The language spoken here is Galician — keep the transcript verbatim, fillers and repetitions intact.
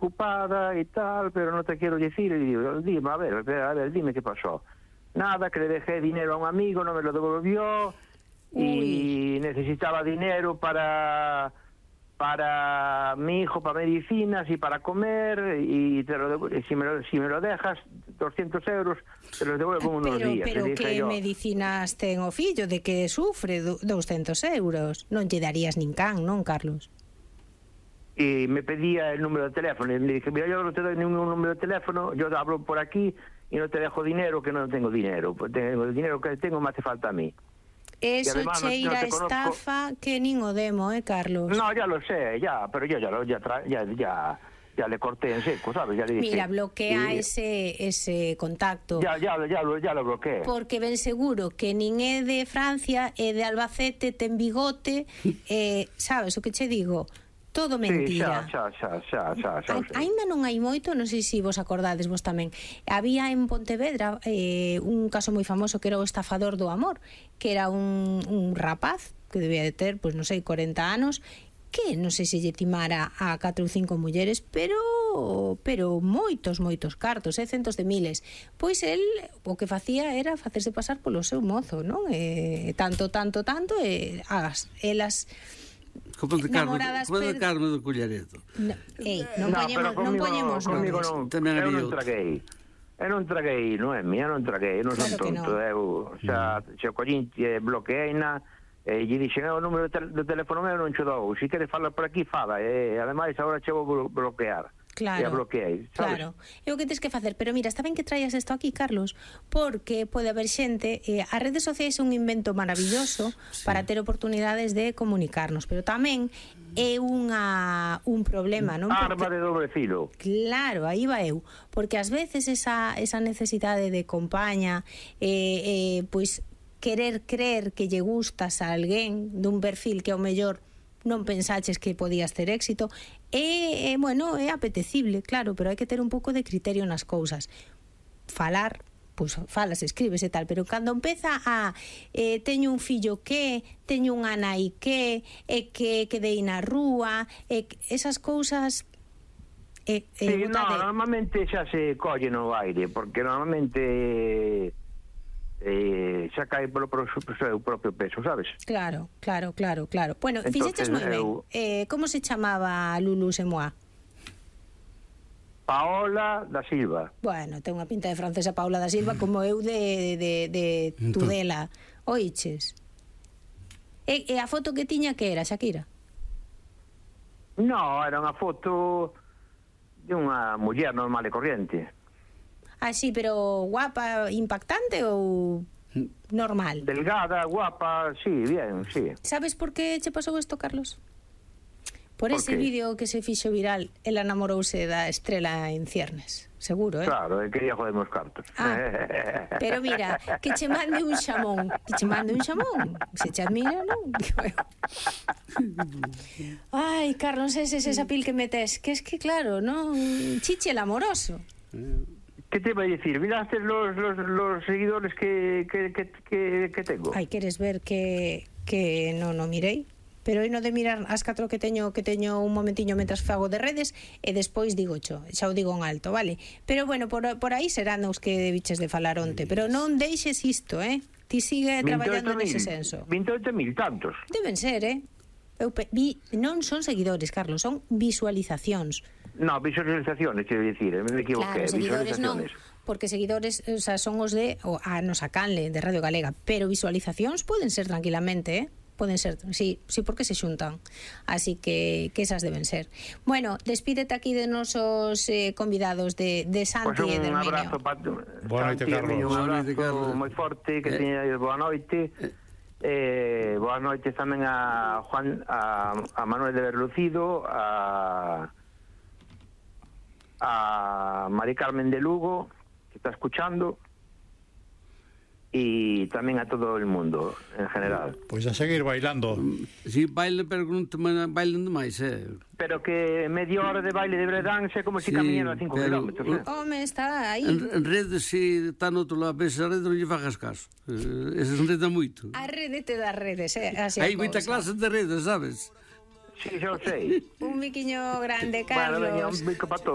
ocupada y tal, pero no te quiero decir. Y digo, dime, a ver, a ver, dime qué pasó. Nada, que le dejé dinero a un amigo, no me lo devolvió. Uy. Y necesitaba dinero para para mi hijo, para medicinas y para comer, y te lo devu- si, me lo, si me lo dejas, doscientos euros, te los devuelvo en unos Pero, días. pero Le dije que yo. medicinas ten o fillo de que sufre du- doscientos euros? Non lle darías nin can, non, Carlos? Y me pedía el número de teléfono, y le dije, mira, yo no te doy ningún número de teléfono, yo hablo por aquí y no te dejo dinero, que no tengo dinero, pues tengo el dinero que tengo me hace falta a mí. Eso además no- no cheira te conozco. estafa que nin o demo, eh, Carlos? No, ya lo sé, ya, pero yo ya lo, ya, tra- ya, ya, ya le corté en seco, ¿sabes? Ya le dije, Mira, bloquea y- ese ese contacto. Ya, ya, ya, lo, ya lo bloqueé. Porque ben seguro que nin é de Francia, é de Albacete, ten bigote, eh, sabes o que che digo? Todo mentira. Sí, xa, xa, xa, xa, xa, xa, A- o sei. Ainda non hai moito, non sei se vos acordades vos tamén. Había en Pontevedra eh, un caso moi famoso que era o estafador do amor, que era un, un rapaz que debía de ter, pois non sei, corenta anos, que non sei se lle timara a catro ou cinco mulleres, pero pero moitos, moitos cartos, eh, centos de miles. Pois el o que facía era facerse pasar polo seu mozo, non? Eh, tanto, tanto, tanto, e as, elas Como de carne, Namoradas como de per- carne do Cullereto. no, ei, non No, poñemos, pero non comigo poñemos comigo nomes. non, Tamén eu había non outro. traguei. Eu non traguei, Noemi, eu non traguei, eu non Claro son que tonto. non. Eu xa, xa collín, eh, bloqueeina, e lle dixen, o número de tel- do teléfono meu non che dou, se queres falar por aquí, fala, e ademais agora che vou blo- bloquear. Claro, E a bloqueei, sabes? claro. É o que tens que facer. Pero mira, está ben que traías isto aquí, Carlos, porque pode haber xente, eh, as redes sociais é un invento maravilloso sí. para ter oportunidades de comunicarnos, pero tamén é unha un problema, non? Arma Porque, de doble filo. claro, aí va eu, porque ás veces esa, esa necesidade de compaña, eh, eh, pois querer creer que lle gustas a alguén dun perfil que ao mellor non pensaches que podías ter éxito, é, é, bueno, é apetecible, claro, pero hai que ter un pouco de criterio nas cousas. Falar, pois falas, escribes e tal, pero cando empeza a eh, teño un fillo que, teño unha nai que, e que quedei na rúa, e que, esas cousas eh, eh, Sí, no, botade. normalmente xa se colle no aire, porque normalmente eh, xa cae polo pro- pro seu propio peso, sabes? Claro, claro, claro, claro. Bueno, Entonces, fixeches moi ben. eu- Eh, como se chamaba Lulu Semoa? Paola da Silva. Bueno, ten unha pinta de francesa Paula da Silva como eu de, de, de Tudela. Oiches? E, e a foto que tiña que era, Shakira? No, era unha foto de unha muller normal e corriente. Ah, sí, pero guapa, impactante ou normal? Delgada, guapa, sí, bien, sí. Sabes por que che pasou isto, Carlos? Por, Por ese qué? vídeo que se fixo viral, ela namorouse da estrela en ciernes. Seguro, eh? Claro, e quería joderme os cartos. Ah, pero mira, que che mande un xamón, que che mande un xamón, se che admira, non? Ai, Carlos, ese es esa pil que metes, que es que claro, non? Chiche el amoroso. ¿Qué te iba a decir? ¿Miraste los, los, los seguidores que, que, que, que, que tengo? Ai, queres ver que que non o mirei? Pero aí no de mirar as catro que teño que teño un momentiño mentras fago de redes e despois digo cho, xa o digo en alto, vale? Pero bueno, por, por aí serán os que debiches de falar onte, pero non deixes isto, eh? Ti sigue traballando nese senso. veintiocho mil, tantos. Deben ser, eh? Eu pe- vi, non son seguidores, Carlos, son visualizacións. No, visualizaciones, quiero decir, me equivoqué, Claro, seguidores non, visualizaciones. porque seguidores, o sea, son os de o, a nosa canle de Radio Galega, pero visualizacións poden ser tranquilamente, eh? Poden ser, sí, sí, porque se xuntan. Así que que esas deben ser. Bueno, despídete aquí de nosos eh, convidados de, de Santi Pues e de un Herminio. abrazo para Boa noite, Carlos. Un Boa abrazo noite, Carlos. moi forte, que Eh. teña boa noite. Eh, boas noites tamén a Juan, a, a Manuel de Berlucido, a a Mari Carmen de Lugo, que está escuchando, y tamén a todo el mundo en general. Pois a seguir bailando. Si baile, pero non te man- bailen demais, eh. Pero que media hora de baile de breakdance é como se Sí, camiñan a cinco pero- kilómetros, eh? Home, está aí. En, en redes, si está no outro lado, ves a rede, non lle fagas caso. Eh, ese enreda moito. A rede te das redes, eh? Así Hai a moita cousa. clase de redes, sabes? Sí, xa o sei. Un miquiño grande, Bueno, Carlos. veña, un bico para todos.